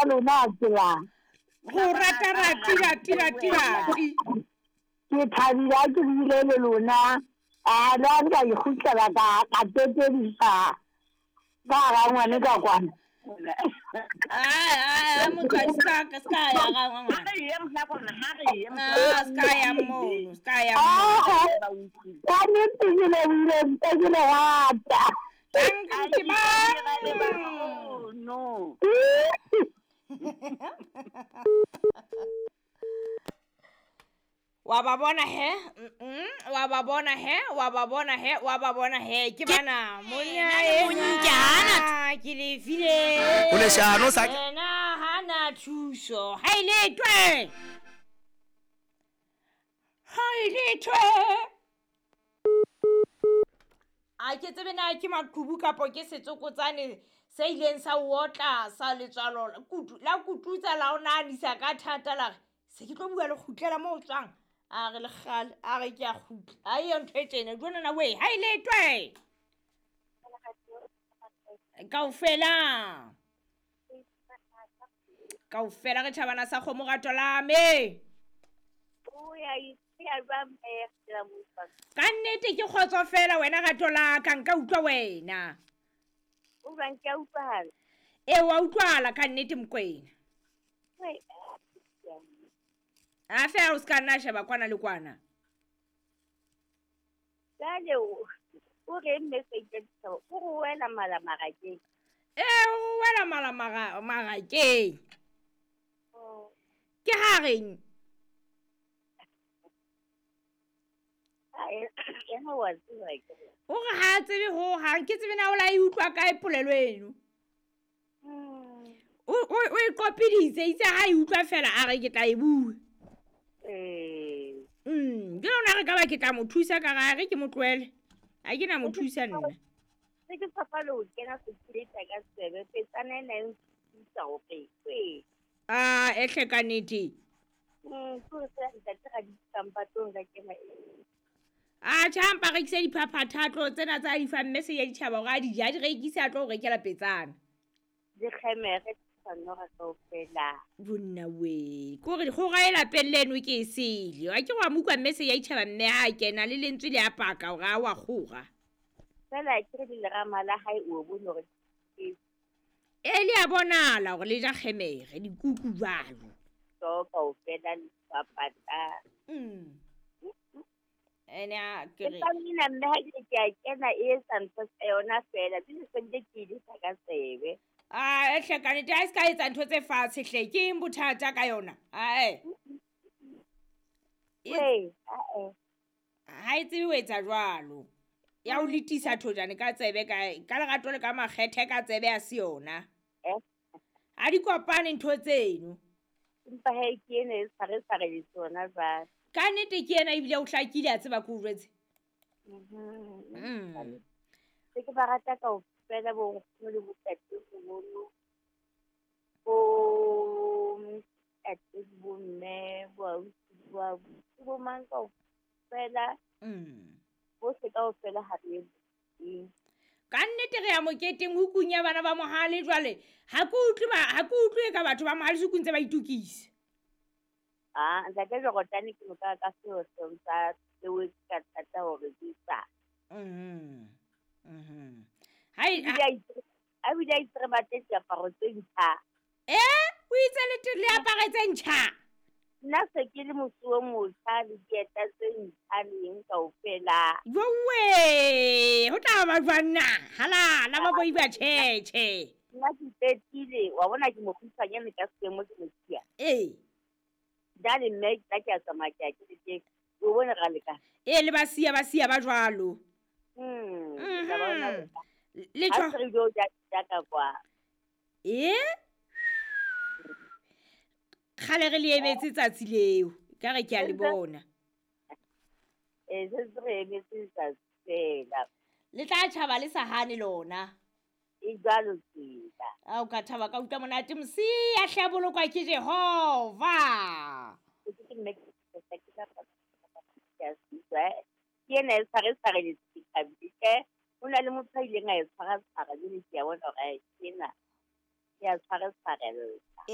Lona tsela. Go rata rati rati rati rati. Ke thabile ha ke buile le lona. A le ha nka ikgutlela ka ka tetedisa ka hara ngwane ka kwana. Ai, motswadi ska ska ya ga ngwana. Ah, ska ya mono, ska ya mono. Ka nnete ke lebohile ntse ke le rata. Thank you, mang? No. Wa ba bona he? Wa ba bona he? Wa ba bona he? Wa ba bona he? Ke bana monna Monyana. Ke le file. O leshano sa- Yena hana thuso. Ha ile twe. Ha ile twe. A ke tsebe na ke maqhubu kapo ke setsokotsane se ileng sa o otla sa letswalo la kutu la kututsa la o nahanisa ka thata la re se ke tlo bua le kgutlela mo o tswang. A re lekgale, a re ke a kgutla. A eyo ntho e tjena, jwanana wee, ha ile twe. Kaofela. Kaofela re tjhabana sa kgomo rato la me. Ka nnete ke kgotso fela wena rato la ka, nka utlwa wena. Ee, wa utlwahala ka nnete Mokwena. A feela o ska nna sheba kwana le kwana. Jwale o reng message ya ditaba? O re o wela mala marakeng. Ee, o wela mala marakeng. Ke ha reng? Yena wa tseba ke. O re ha tsebe ho hang, ke tsebe na o la e utlwa kae polelo eno. O e qopiditse, itse ha e utlwa fela a re ke tla e bua. Ke lona re ka ba ke tla mo thusa ka re ke mo tlohele. Ha ke na mo thusa nna. Se ke tshapa le ho kena sekileta ka tsebe, petsana ena e nthusa hore e. Ah, ehle ka nnete. Ke hore feela ntate ga di tsampa tlo nka kena e. Ah, tjha, mpa rekise diphaphatha tlo tsena tsa di fa mme se ya ditjhaba hore a di je, a di rekise a tlo o rekela petsana. Dikgemere tshwanora kaofela. Bonna we, ke hore kgora e lapeng leno ke e sele. Wa ke wa mo utlwa mme se ya ditjhaba mme ha a kena le lentswe le a paka hore a wa kgora. Feela ke re lerama la hae o bone hore ke E le a bonahala hore le ja kgemere, dikuku jwalo. So kaofela le dipapata. Ene a ke re. Empa nna mme ha ke ke a kena e etsa ntho tsa yona feela, jwale se ntse ke e lesa ka tsebe. Ah, ehle ka nnete, ha e se ka etsa ntho tse fatshe hle, ke eng bothata ka yona? Ae. Ee, ae. Ha e tsebe ho etsa jwalo. Ya o letisa thojane ka tsebe ka lerato le ka makgethe ka tsebe ya se yona. Ha di kopane ntho tseno. Empa he ke ena e tshware tshware le tsona jwale. Ka nnete ke ena ebile o hlakile a tseba ke o jwetse. Se ke ba rata kaofela bo nkgono le bontatemoholo, bo ntate le bo mme, bo ausi, bo abuti, bo mang kaofela. Bohle kaofela ha re ye moketeng. Ka nnete re ya moketeng hukung ya bana ba Mohale jwale. Ha ke utlwe ba, ha ke utlwe ka batho ba Mohale sukung tse ba itokisa. Ah, ntate Jorotane ke moka ka seo seo sa seo ka thata hore ke sa. Ha e, ha A bile a itse re batle diaparo tse ntjha. O itse le le apare tse ntjha? Nna se ke le mosuwe motjha le dieta tse ntjha le eng kaofela. Jowe, ho tla ba jwang na? Halala ba boi ba tjhetjhe. Nna ke ipetile, wa bona ke mokgutshwanyane ka seemo ke mosia. Ee. Jwale mme nna ke a tsamaya ke ya ke le teng. O bone ra lekana. Ee, le ba siya, ba siya ba jwalo. Ke tla ba bona jwang. Le Ha tjho- se re ilo ja ja ka kwa. Ee? Kgale re le emetse tsatsi leo. Ka re ke a le bona. Ee, se ntse re emetse letsatsi fela. Le tla tjhaba le sa hane lona. E jwalo tsela. A o ka thaba ka utlwa monate mosia hle a bolokwa ke Jehova. Ke ke mme ke ke ke ka ke a se utlwa. Ke ena e tshware tshware le thabile hle. Ho na le motho a ileng a e tshwara tshwara jwale ke a bona hore ke ena. Ke a tshware tshwarella.